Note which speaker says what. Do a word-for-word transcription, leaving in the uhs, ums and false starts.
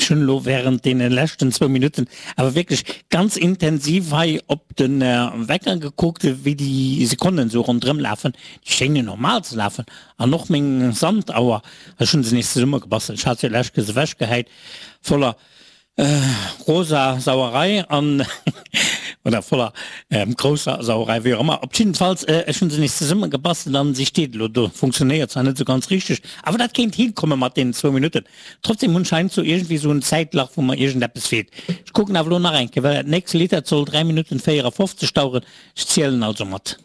Speaker 1: Ech hunn elo während deene leschten zwou Minutten awer wierklech ganz intensiv hei op de Wecker gekuckt, wéi déi Sekonnen esou ronderëm lafen. Déi schéngen normal ze lafen. An och meng Sandauer, ech hunn se nees zesummegebastelt, ech hat se jo lescht Kéiers ewechgehäit, voller rosa Sauerei an oder voller grousser Sauerei, wéi och ëmmer. Op jiddefalls, ech hunn se nees zesummegebastelt an si steet elo do. Funktionéiert zwar net esou ganz richteg, awer dat kéint hinkomme mat deenen zwou Minutten. Trotzdem hunn ech heiansdo iergendwéi esou en Zäitlach, wou mer iergendeppes feelt. Ech kucken awer elo nach eng Kéier, well dat nächst Lidd, dat soll dräi Minutten véierafofzeg daueren. Ech zielen also mat.